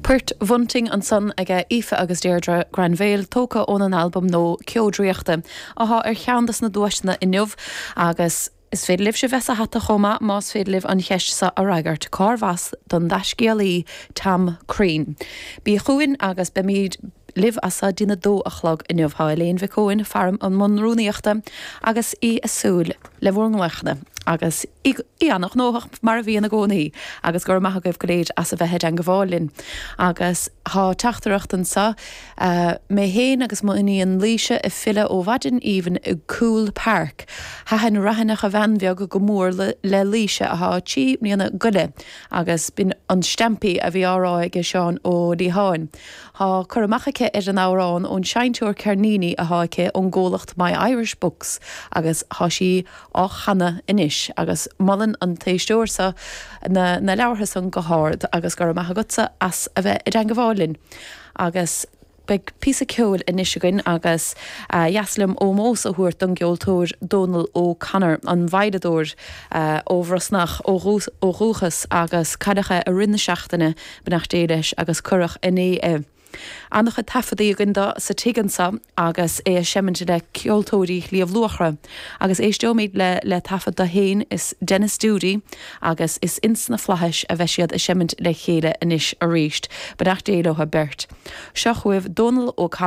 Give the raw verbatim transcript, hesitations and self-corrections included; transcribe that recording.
Port Bhunting ansan aige Aoife agus Deirdre Granville tógtha ón an albam nua Ceo Draíochta atá ar cheann des na duaiseanna inniu agus Is féidir libh bheith sa hata chomh maith más féidir libh an cheist seo a fhreagairt cárbh as don dtaiscéalaí Tom Crean. Bí chugainn agus beimid libh as seo go dtí a dó a chlog inniu Tá Elaine Mhic Eoin faoi mbun rúnaíochta agus í ag súil le bhur nglaonna agus í an-ghnóthach mar a bhíonn i gcónaí agus gur maith agaibh go léir as a bheith i dteagmháil linn. Agus tá teachtaireacht anseo uh, mé héin agus mo iníon Laoise ag filleadh ó mhaidin aoibhinn i Coole Park. Thaitin Raithineach a Bhean Bheag go mór le, le Laoise atá trí bliana go leith agus b'in an Stampy a bhí á rá ag Seán Ó Liatháin. Tá cur amach aici ar an amhrán ón seinnteoir ceirníní atá aici ón gcomhlacht My Irish Books agus tá sí á chanadh anois agus molann an t-éisteoir seo na, na leabhartha san go hard agus go raibh maith agatsa as a bheith i dteagmháil linn. Agus beidh píosa ceoil anois againn agus uh, dheas liom ómós a thabhairt don gceoltóir Donal O'Connor an veidhleadóir uh, ó Bhrosnach ó ó dhúchas agus cailleadh é i rith na seachtaine beannacht Dé leis agus cuireadh inné é. An-chuid taifeadtaí againn dó sa tigh anseo agus é ag seimint le ceoltóirí Shliabh Luachra, agus éisteoimid le le taifead dó féin is Dennis Doody agus is ins na Flaithis a bheidh siad ag seimint le chéile anois arís, beannacht Dé leo beirt. Seo chugaibh Donal O'Connor